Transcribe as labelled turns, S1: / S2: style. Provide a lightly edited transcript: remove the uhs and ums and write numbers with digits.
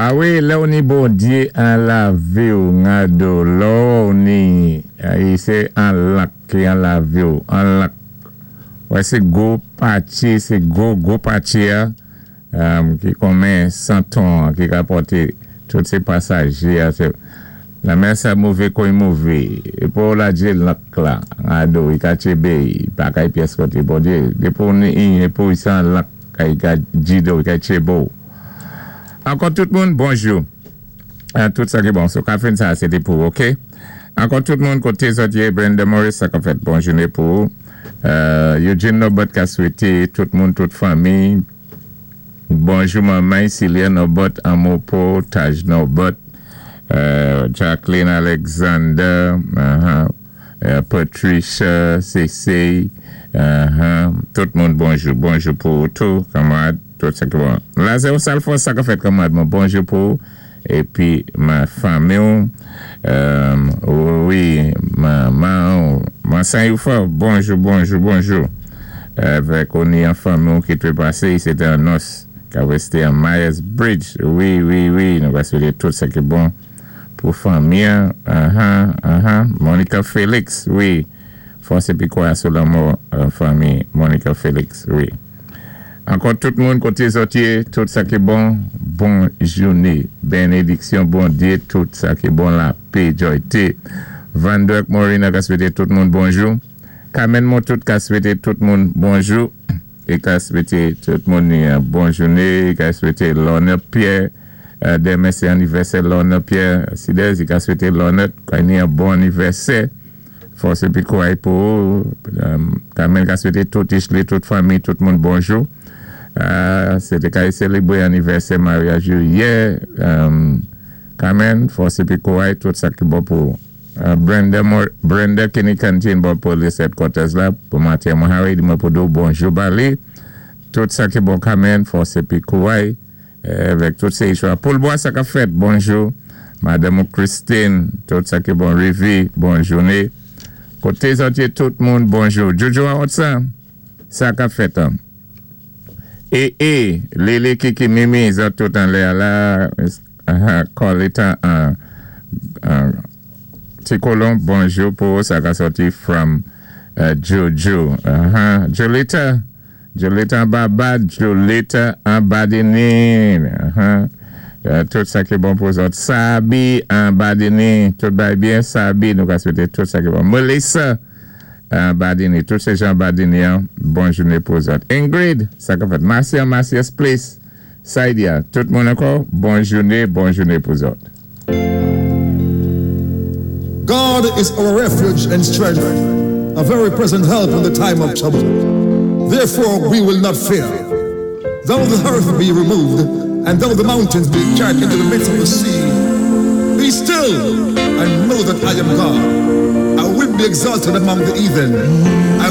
S1: A wi, lè ou ni Bondyé an lavi-w, ngado, lò ou ni, sé an lank ki an lavi-w, an lank. Wè sé gwo patye, sé gwo, gwo patye-a, ki konmen santon ki ka pòté tout sé pasajé a. Lanmè sa mové kon i mové. Épi ou ladjé lank la, ngado, i ka tchébé, i pa kay pyès koté. Bondyé, dépi ou ni, épi ou sé an lank, i ka djidé-w, i ka tchébé-w. Ankò tout moun, bonjou. Tout sa ki bon. So, kafen sa, sé té pou, OK? Ankò tout moun, koté zòt yé, Brenda Morris, sa ka fèt bon jouné pou. Eugene Norbert ka swété tout moun, tout fanmi. Bonjou manman, Celia Norbert, Amopo, Taj Norbert, Jacqueline Alexander, Patricia, Cece, tout moun bonjou. Bonjou pou tout, kanmarad, tout sa ki bon. Lazare Salfos, sa ka fèt kanmarad, mwen bonjou pou épi ma fanmi, wi, manman, ma Saint-Youfort, bonjou, bonjou, bonjou. Avèk on ni an fanmi ki té pasé, sé té an nòs, ki wésté an Myers Bridge. Wi, nou va swété tout sa ki bon pou fanmi. Monica Félix, wi. Fòs épi kwa sou lanmò, fanmi Monica Félix, wi. Ankò tout moun koté zòt yé, tout sa ki bon, bon jouné. Bénédiksyon, Bondyé, tout sa ki bon, lapè, jòyté. Van Dirk Morina ka swété tout moun bonjou. Carmen Motout ka swété tout moun bonjou. É ka swété tout moun bon jouné. Ka swété Lorna Pierre. Denmen sé anivèsè Lorna Pierre. Sidez, i ka swété Lorna kay ni an bon anivèsè. Fòs épi kouray pou. Carmen ka swété tout Ishley, tout fanmi, tout moun bonjou. Sé té kay sélébré anivèsè maryaj yè. Carmen, fòs épi kouray, tout sa ki bon pou Brenda, Brenda Kenny Canteen, bò police headquarters la, pou maten mwen Harry, di mwen pou di-w bonjou bali. Tout sa ki bon Carmen, fòs épi kouray, avèk tout sé chwa. Paul Bois, sa ka fèt, bonjou. Madame Christine, tout sa ki bon Rivi, bon jouné. Koté zòt yé tout moun, bonjou. Jojo a sa ka fèt. Hein? É, Lele, Kiki, Mimi, zòt tout anlè la, Colita, Ti Colon, bonjou pou sa ka sòti from Jojo. Jolita, Jolita an Barbad, Jolita an Badini. Tout sa ki bon pou zòt. Sabi an Badini, tout bay byen, Sabi, nou ka swété tout sa ki bon. Melissa an Badini, tout sé jan Badini, hein, bon jouné pou zòt. Ingrid, sa ka fèt. Marcia, Marcia's Place, Saidia, tout moun ankò, bon jouné, bon jouné pou zòt.
S2: God is our refuge and strength, a very present help in the time of trouble. Therefore, we will not fear. Though the earth be removed, and though the mountains be carried into the midst of the sea, be still and know that I am God. I will be exalted among the heathen. I